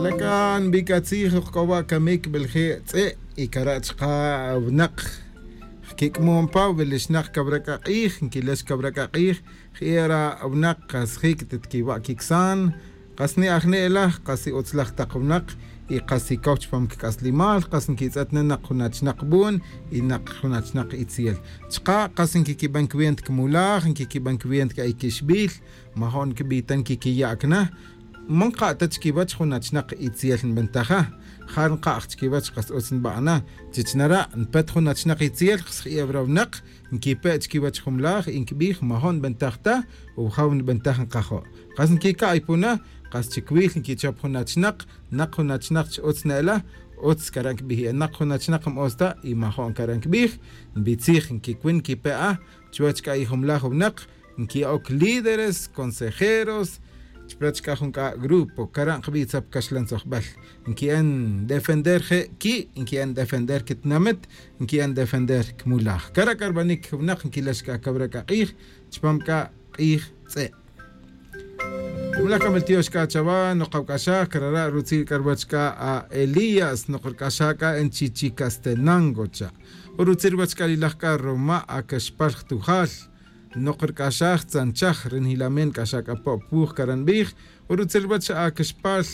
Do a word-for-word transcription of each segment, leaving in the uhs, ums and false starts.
C'a nbic atzij ojc'o wa' camic belje' tz'e'. Y cara' chka' winak jquic'mon pa wilixnak cawra c'a k'ij nquilex cawra c'a k'ij. Jera winak kas jic ta tquiwa' quicsan. Kas ni ajne'laj kas i utzlaj tak winak y kas i cow chupam quic'aslimal kas nquitz'et na nak jun achnak bun y nak jun achnak itziel. Chka' kas nquiquiban cwienta cmulaj nquiquiban cwienta c'a i quixbil. Majo' nquibi' ta nquiquiya' cana. Man ka' ta chiquiwech jun achnak itziel nbentaja. Ja nka' aj chiquiwech kas utz nba'ana. Chich nara' npet jun achnak itziel kas ji'ew ra winak nquipe' chiquiwech jumlaj y nquibij majo' nbentaj ta. Ujaw nbentaj nkajo' kas nquica'ay puna. Kas chicuil nquichop jun achnak nak jun achnak chi utz ne'la. Utz cara' nquibij enak jun achnak mo'osta y majo' cara' nquibij. Nbitzij nquicuin nquipe'a chuwech c'a i jumlaj winak nqui'oc líderes consejeros. Chupech c'a jun c'a grupo cara' nkibi' tzop caxlan tzojbel nqui'en defender je' qui' nqui'en defender quitinamit nqui'en defender cmulaj cara' c'a rbanic winak nquilex c'a cawra c'a k'ij. Chupam c'a k'ij tz'e'. Cumlaj c'a mel tiyox c'a chawa nokawc'axaj cara' rutzil c'a ruwech c'a a elías nokorc'axaj c'a en chichicastenango cha'. Urutzil ruwech c'a lilaj c'a roma acaxpal jtujal. Nokorc'axaj tzanchaj ri njilamen c'axaj c'a po' puj cara' nbij. Urutzil ruwech acaxpal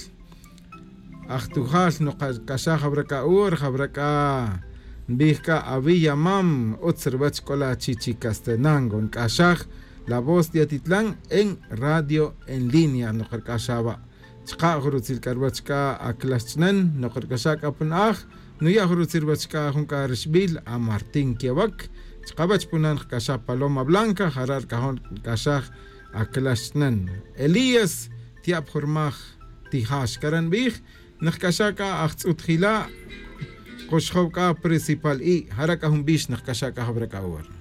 ajtujal nokorc'axaj jawra c'a ur jawra c'a nbij c'a awi yamam. Utz ruwech c'o la chichicastenango nc'axaj la voz de atitlan en radio en línea nokorc'axaj wa'. Chka' jun rutzil c'a ruwech c'a aclax ch'nen nokorc'axaj c'a pa na'aj. Nuya' jun rutzil ruwech c'a jun c'a rixbil amartín quewac. Chka' wech punan jc'axaj paloma blanca jara' rc'ajon rc'axaj aclax ch'nen. Elías tiya' pa jun rmaj tijax cara' nbij. Nijc'axaj c'a ajtz'ut jila'. Kuxjow c'a principal i' jara' c'a jun bix nijc'axaj c'a jawra c'a ora.